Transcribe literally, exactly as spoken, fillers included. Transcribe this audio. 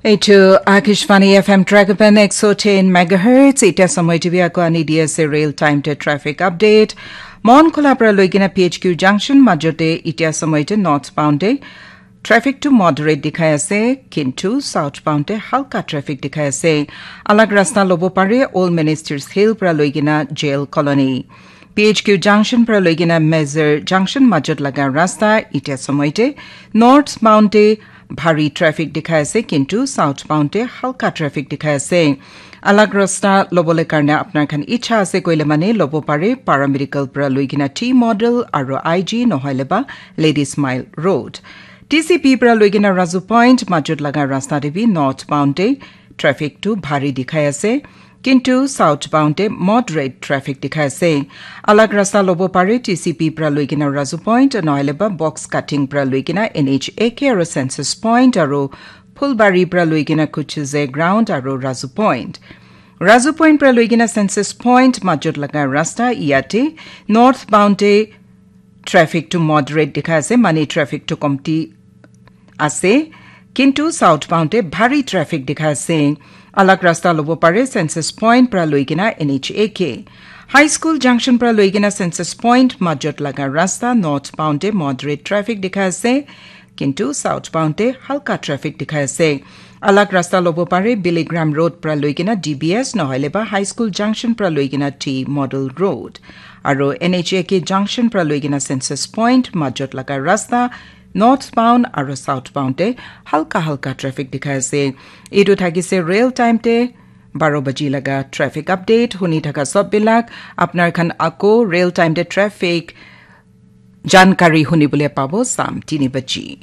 Eitu Akashvani F M Dragopan ek so ten megahertz. Ita samoi tibi ako ani D S A real time te traffic update. Mon Khula pra loigina P H Q junction majote ita samoi te northbound te traffic to moderate dikhai ase, kintu southbound te halka traffic dikhai ase. Alag rasta lobo pare Old Ministers Hill pra loigina Jail Colony. P H Q junction pra loigina Mezar junction majot laga rasta ita samoi te northbound te bhari traffic dikhai ase, kintu southbound te halka traffic dikhai ase. Alag rasta lobole karne apnar khan icha ase koile mane lobo pare, paramedical pra loigina T model aro I G nohoile ba Ladies Mile Road. T C P pra loigina Razu Point majot laga rasta te bi northbound te traffic tu bhari dikhai ase, kintu southbound te moderate traffic dikhai ase. Alag rasta lobo pare T C P pra loigina Razu Point, nohoile ba box cutting pra loigina N H A K aro Census Point aro Phulbari pra loigina Kuchuze Ground aro Razu Point. Razu Point pra loigina Census Point majot laga rasta iyate northbound te traffic tu moderate dikhai ase, mane traffic tu komti ase, kintu southbound te bhari traffic dikhai ase. Alag rasta lobo pare Census Point pra loigina N H A K. High School junction pra loigina Census Point majot laga rasta northbound te moderate traffic dikhai ase, kintu southbound te halka traffic dikhai ase. Alag rasta lobo pare Billy Graham Road pra loigina D B S nohoile ba High School junction pra loigina T Model Road. Aro N H A K junction pra loigina Census Point majot laga rasta northbound aro southbound te halka halka traffic dikhai ase. Etu thakise real time te baro baji laga traffic update. Huni thaka sob bilak apnar khan ako real time te traffic jankari huni bole pabo sam tini baji.